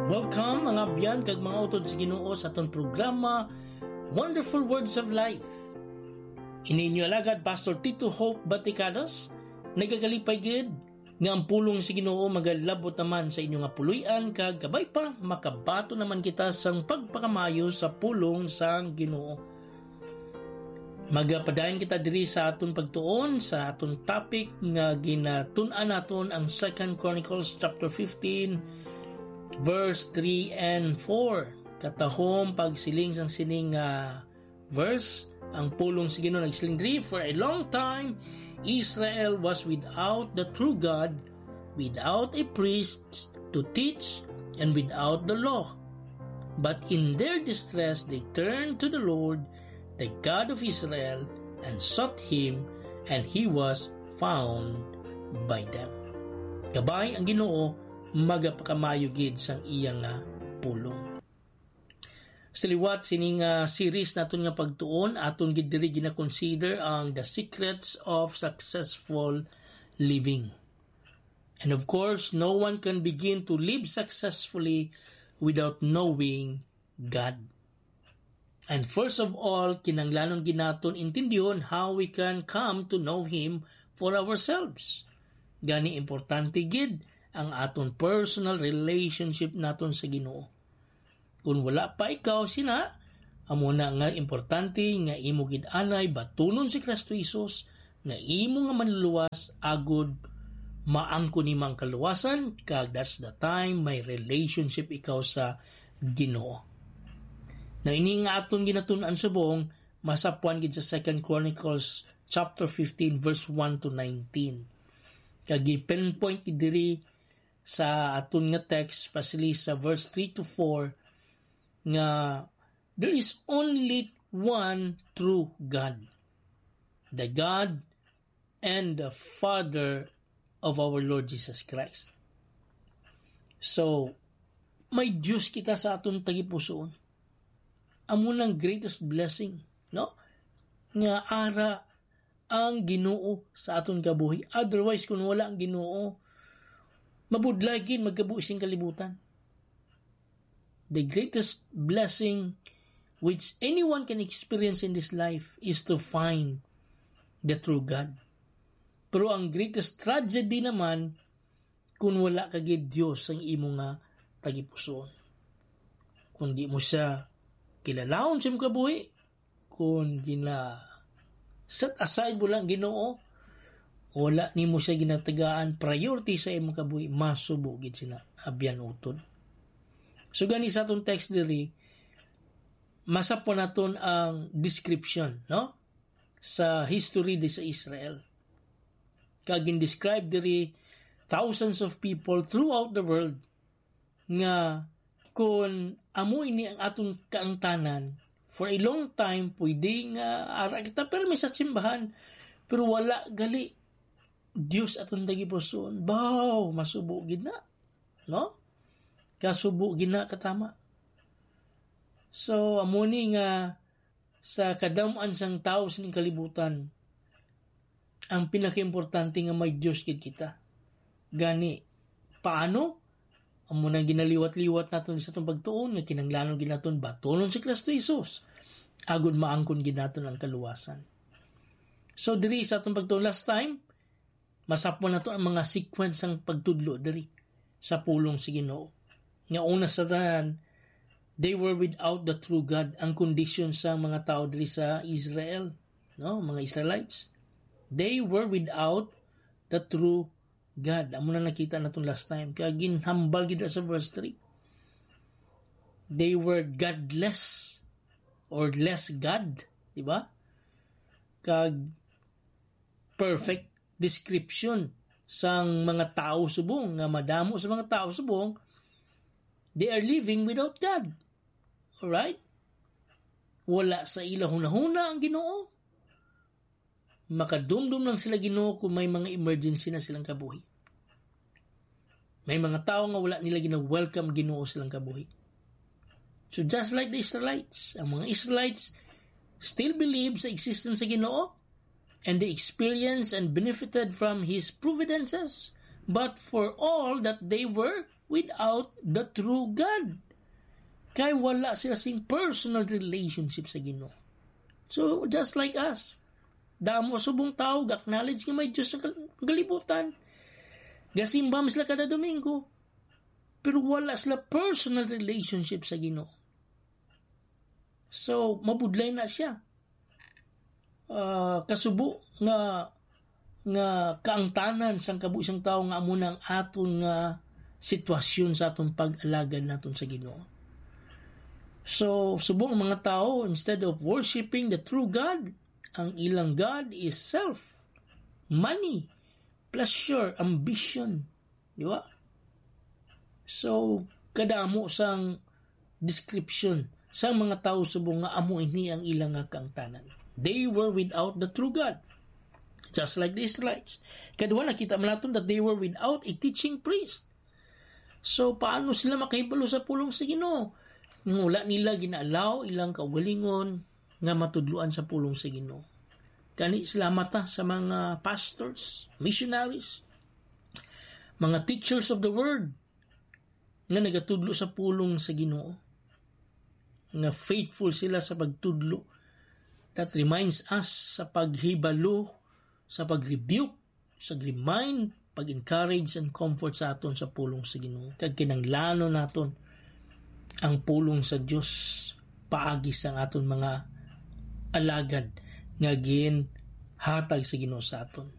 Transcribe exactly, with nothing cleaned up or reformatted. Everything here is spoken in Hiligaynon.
Welcome, mga abyan kag mga utod sa Ginoo, sa aton programa, Wonderful Words of Life. Ini inyo alagad, Pastor Tito Hope Baticados, nagakalipay gid nga ang pulong sa Ginoo magalabot naman sa inyo nga puloy-an, kag kabay pa, makabaton naman kita sang pagpakamaayo sa pulong sang Ginoo. Magapadayon kita diri sa aton pagtuon, sa aton topic nga ginatun-an naton, ang Second Chronicles chapter fifteen, verse three and four. Katahom pagsiling sang sining nga verse, ang pulong sa Ginoo nagsiling diri, "For a long time, Israel was without the true God, without a priest to teach, and without the law. But in their distress, they turned to the Lord, the God of Israel, and sought him, and he was found by them." Kabay, ang Ginoo magapakamayo gid sang iya nga pulong. Sa liwat sining, ah, series naton nga pagtuon, aton gid diri gina-consider ang the secrets of successful living. And of course, no one can begin to live successfully without knowing God. And first of all, kinahanglanon gid naton intindihon how we can come to know Him for ourselves. Gani, importante gid ang aton personal relationship naton sa Ginoo. Kung wala pa ikaw sina, amo na nga importante nga imo gid anay batunon si Kristo Jesus nga imo nga Manluluwas, agod maangkon nimo ang kaluwasan, kag that's the time may relationship ikaw sa Ginoo. Na ini nga aton ginatun-an subong, masapwan gid sa Second Chronicles chapter fifteen, verse one to nineteen. Kag gi-pinpoint gid diri sa aton nga text, especially sa verse three to four, nga there is only one true God, the God and the Father of our Lord Jesus Christ. So, may Dios kita sa aton tagipusoon. Amo nang greatest blessing, no? Nga ara ang Ginoo sa aton kabuhi. Otherwise, kung wala ang Ginoo, mabudlay gid magkabuhi sing kalibutan. The greatest blessing which anyone can experience in this life is to find the true God. Pero ang greatest tragedy naman kung wala ka gid Dios ang imo nga tagipusoon. Kung di mo siya kilalahon sa imong kabuhi, kung gina-set aside mo lang Ginoo, wala nimo siya ginatagaan priority sa imong kabuhi, masubo gid sina abyan utod. So gani sa atong text diri, masapon naton ang description, no? Sa history di sa Israel. Kag gin-describe diri thousands of people throughout the world nga kung amo ini ang aton kaangtanan, for a long time, pwede nga ara kita pirmi sa simbahan, pero wala gali Dios aton tagipusoon. Baw, masubo gid na, no? Kasubo gid na katama. So, amo ni nga sa kadam-an sang tawo sining kalibutan, ang pinakaimportante nga may Dios gid kita. Gani, paano? Amo nang ginaliwat-liwat naton sa atong pagtuon nga kinahanglanon gid naton batunon si Kristo Jesus, agod maangkon gid naton ang kaluwasan. So, diri sa atong pagtuon last time, masapon nato ang mga sequence sang pagtudlo diri sa pulong sa Ginoo. Nga una sa tanan, they were without the true God, ang kondisyon sa mga tawo diri sa Israel, no, mga Israelites. They were without the true God. Amo na nakita naton last time. Kaya ginhambal gid sa verse three. They were godless or less God, di ba? Kag perfect description sang mga tawo subong, nga madamo sa mga tawo subong, they are living without God. Alright? Wala sa ila hunahuna ang Ginoo. Makadumdom lang sila Ginoo kung may mga emergency na silang kabuhi. May mga tawo nga wala nila gina-welcome Ginoo silang kabuhi. So just like the Israelites, ang mga Israelites still believe sa existence sa Ginoo, and they experienced and benefited from His providences. But for all that they were without the true God. Kay wala sila sing personal relationship sa Ginoo. So, just like us, damo subong tao ga-acknowledge nga may Dios sa kal-, kalibutan. Gasimba man sila kada Domingo, pero wala sila personal relationship sa Ginoo. So, mabudlay na siya. Ah, kasubo nga, nga kaangtanan sang kabuhi sang tawo nga amo na ang aton nga sitwasyon sa aton pag-alagad naton sa Ginoo. So, subong ang mga tawo, instead of worshiping the true God, ang ilang God is self, money, pleasure, ambition. Di ba? So, kadamo sang description sang mga tawo subong nga amo ini ang ilang nga kaangtanan. They were without the true God, just like the Israelites. Kadua, nakita man naton that they were without a teaching priest. So, paano sila makahibalo sa pulong sa Ginoo? Nga wala nila gina-allow ilang kaugalingon nga matudloan sa pulong sa Ginoo. Gani, salamat ta sa mga pastors, missionaries, mga teachers of the word nga nagatudlo sa pulong sa Ginoo, nga faithful sila sa pagtudlo. That reminds us sa paghibalo, sa pag-rebuke, sa remind, pag-encourage and comfort sa aton sa pulong sa Ginoo. Kag kinahanglanon naton ang pulong sa Dios paagi sang aton mga alagad nga ginhatag sa Ginoo sa aton.